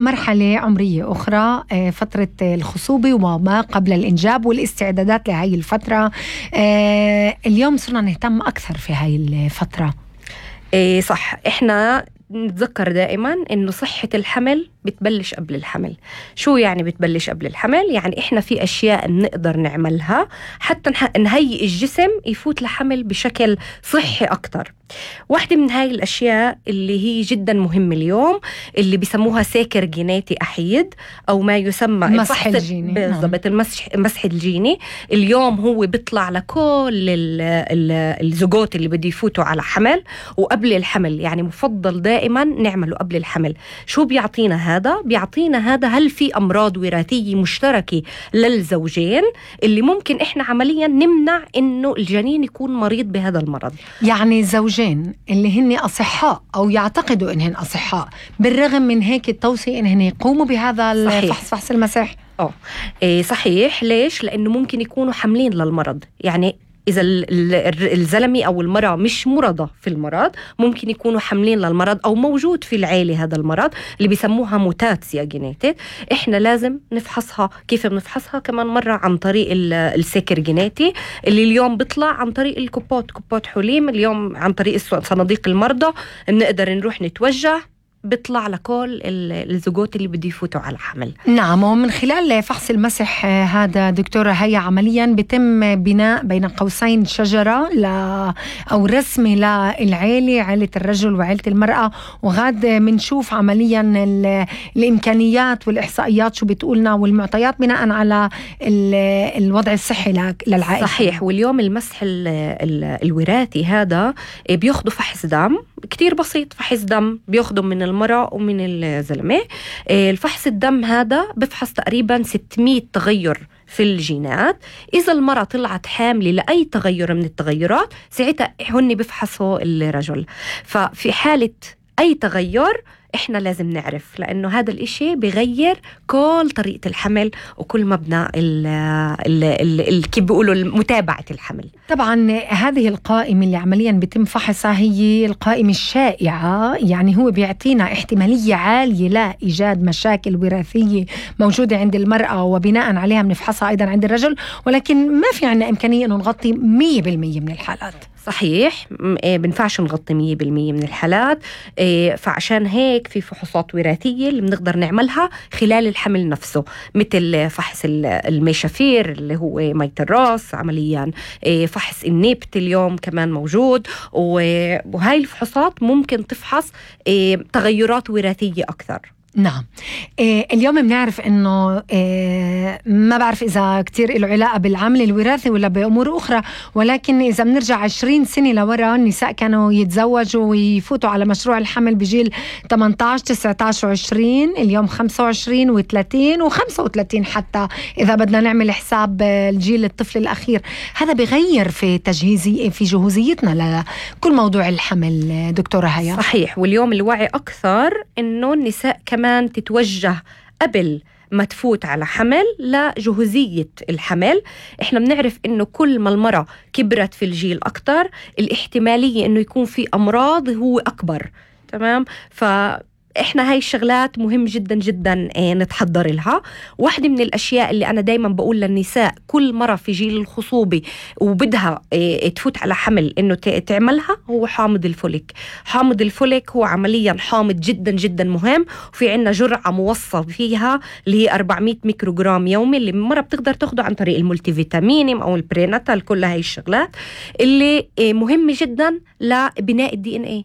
مرحلة عمرية أخرى، فترة الخصوبة وما قبل الإنجاب والاستعدادات لهاي الفترة. اليوم صرنا نهتم أكثر في هاي الفترة. صح، إحنا نتذكر دائما إنه صحة الحمل بتبلش قبل الحمل. شو يعني بتبلش قبل الحمل؟ يعني إحنا في أشياء نقدر نعملها حتى نهيئ الجسم يفوت لحمل بشكل صحي أكتر. واحدة من هاي الأشياء اللي هي جدا مهمة اليوم اللي بيسموها ساكر جيناتي أحيد أو ما يسمى المسح الجيني. بالضبط، المسح الجيني. اليوم هو بيطلع لكل الزوجات اللي بده يفوتوا على حمل وقبل الحمل، يعني مفضل دائما نعمله قبل الحمل. شو بيعطينا هذا؟ بيعطينا هذا هل في أمراض وراثية مشتركة للزوجين اللي ممكن إحنا عمليا نمنع إنه الجنين يكون مريض بهذا المرض. يعني زوجين اللي هن أصحاء أو يعتقدوا إنهن أصحاء، بالرغم من هيك التوصية إنهن يقوموا بهذا الفحص، فحص المسح. صحيح. ليش؟ لأنه ممكن يكونوا حاملين للمرض. يعني إذا الزلمة أو المرأة مش مرضى في المرض، ممكن يكونوا حاملين للمرض أو موجود في العائلة هذا المرض اللي بيسموها موتاتسيا جينيتيك. إحنا لازم نفحصها. كيف بنفحصها؟ كمان مرة عن طريق السكر جيناتي اللي اليوم بيطلع عن طريق كوبات حليم. اليوم عن طريق صناديق المرضى بنقدر نروح نتوجه، بيطلع لكل الزوجات اللي بده يفوتوا على حمل. نعم، ومن خلال فحص المسح هذا دكتورة هي عمليا بيتم بناء بين قوسين شجرة أو رسمة للعائلة، عائلة الرجل وعائلة المرأة، وغاد منشوف عمليا الإمكانيات والإحصائيات شو بتقولنا والمعطيات بناء على الوضع الصحي للعائلة. صحيح. واليوم المسح الوراثي هذا بياخدوا فحص دم كتير بسيط، فحص دم بياخدوا من المرأة ومن الزلمة. الفحص الدم هذا بفحص تقريبا 600 تغير في الجينات. إذا المرأة طلعت حاملة لأي تغير من التغيرات ساعتها هن بفحصوا الرجل. ففي حالة أي تغير إحنا لازم نعرف، لأنه هذا الإشي بيغير كل طريقة الحمل وكل مبنى كيف بيقولوا متابعة الحمل. طبعا هذه القائمة اللي عمليا بيتم فحصها هي القائمة الشائعة، يعني هو بيعطينا احتمالية عالية لإيجاد مشاكل وراثية موجودة عند المرأة وبناء عليها بنفحصها أيضا عند الرجل، ولكن ما في عنا إمكانية أنه نغطي 100% من الحالات. صحيح، بنفعش نغطي 100% من الحالات. فعشان هيك في فحوصات وراثية اللي بنقدر نعملها خلال الحمل نفسه، مثل فحص الميشافير اللي هو مية الراس عمليا، فحص النبت اليوم كمان موجود. وهاي الفحوصات ممكن تفحص تغيرات وراثية أكثر. نعم. اليوم بنعرف انه ما بعرف اذا كتير له علاقه بالعامل الوراثي ولا بامور اخرى، ولكن اذا بنرجع 20 سنه لورا النساء كانوا يتزوجوا ويفوتوا على مشروع الحمل بجيل 18 19 و20. اليوم 25 و30 و35 حتى اذا بدنا نعمل حساب الجيل الطفل الاخير. هذا بغير في في جهوزيتنا لكل موضوع الحمل دكتورة هيا. صحيح. واليوم الوعي اكثر انه النساء كمان تتوجه قبل ما تفوت على حمل لجهوزية الحمل. احنا بنعرف انه كل ما المرأة كبرت في الجيل اكتر الاحتمالية انه يكون في امراض هو اكبر. تمام. احنا هاي الشغلات مهم جدا جدا نتحضر لها. واحدة من الاشياء اللي انا دايما بقول للنساء كل مرة في جيل الخصوبة وبدها تفوت على حمل انه تعملها هو حامض الفوليك. حامض الفوليك هو عمليا حامض جدا جدا مهم، وفي عنا جرعة موصى فيها اللي هي 400 ميكروغرام يومي اللي المرة بتقدر تاخده عن طريق المولتي فيتامين او البريناتال. كل هاي الشغلات اللي مهمة جدا لبناء الDNA،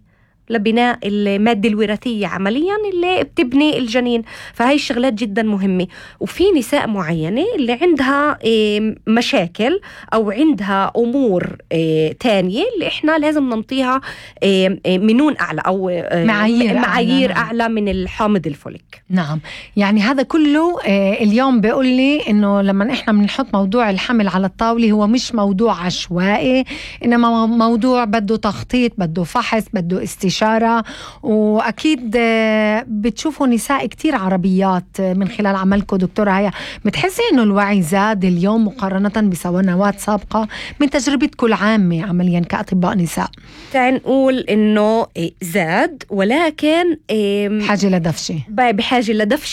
لبناء المادة الوراثية عمليا اللي بتبني الجنين. فهاي الشغلات جدا مهمة. وفي نساء معينة اللي عندها مشاكل أو عندها أمور تانية اللي إحنا لازم ننطيها منون أعلى أو معايير أعلى من الحامض الفوليك. نعم. يعني هذا كله اليوم بيقول لي إنه لما إحنا بنحط موضوع الحمل على الطاولة هو مش موضوع عشوائي، إنما موضوع بده تخطيط، بده فحص، بده استشارة، بشارة. وأكيد بتشوفوا نساء كتير عربيات من خلال عملكم دكتورة هيا، بتحسي إنه الوعي زاد اليوم مقارنة بسنوات سابقة من تجربتكم العامة عمليا كأطباء نساء؟ تعال نقول إنه زاد، ولكن بحاجة لدفشة. بحاجة لدفشة